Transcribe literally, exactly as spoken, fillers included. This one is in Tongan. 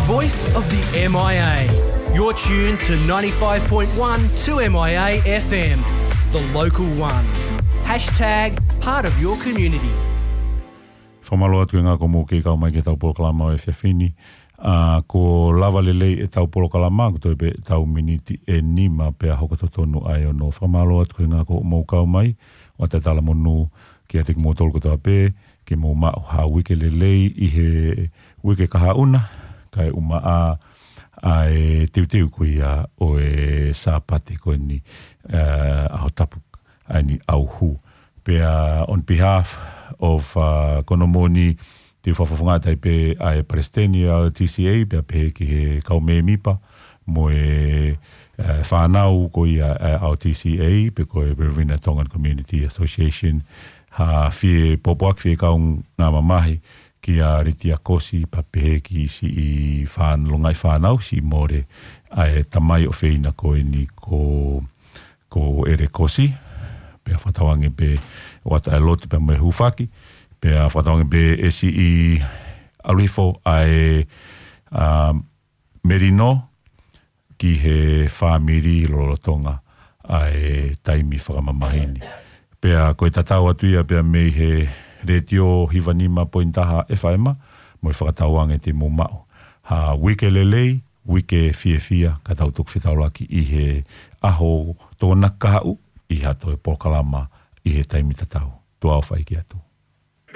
Voice of the M I A. You're tuned to ninety-five point one two M I A F M, the local one. Hashtag part of your community. Fakamālō atu ki he ʻuhinga ko hoʻomou kei kau mai ki heʻetau polokalama ʻo e efiafi ni. ʻA, kuo lava lelei ʻetau polokalama, kuo toe pē ʻetau miniti ʻe nima pea hoko totonu ʻa e ono. Fakamālō atu ki he ʻuhinga ko hoʻomou kau mai, ʻoatu e talamonū kiate kimoutolu kotoa pē, ke mou maʻu ha uike lelei ʻi he uike kahaʻu na, kae ʻumaʻā ʻa e teuteu ko ia ʻo e Sāpate ko eni, ʻa, ʻaho tapu ʻa eni ʻauhū. Pea on behalf of, ʻa, ko hono moʻoni te u fakafofongaʻi atu pē ʻa e Palesiteni ʻa e L T C A, pea pehē ki he kau mēmipa mo e, ʻa, fānau ko ia ʻa e L T C A, pe ko e Riverina Tongan Community Association, ha fie pōpoaki, fie kaungā mamahi kia Ritia Kosi, pea pehē ki siʻi fān-, longaʻi fānau, siʻi mole ʻa e tamai ʻofeina ko eni ko, ko ʻEle Kosi, pea fakatauange pē ʻoatu ʻa e lotu pea mo e hūfaki, pea fakatauange pē ʻe siʻi ʻalu hifo ʻa e, ʻa, melino ki he fāmili lolotonga ʻa e taimi fakamamahi ni. Pea ko e tatau atu ia pea mei he Letiō hiva nima poini taha F M, mo e fakatauange te mou maʻu ha uike lelei, uike fiefia, ka tau toki fetaulaki ʻi he ʻaho Tokonaki kahaʻu, ʻi ha toe polokalama ʻi he taimi tatau. Tuʻa ʻofa ʻeiki atu.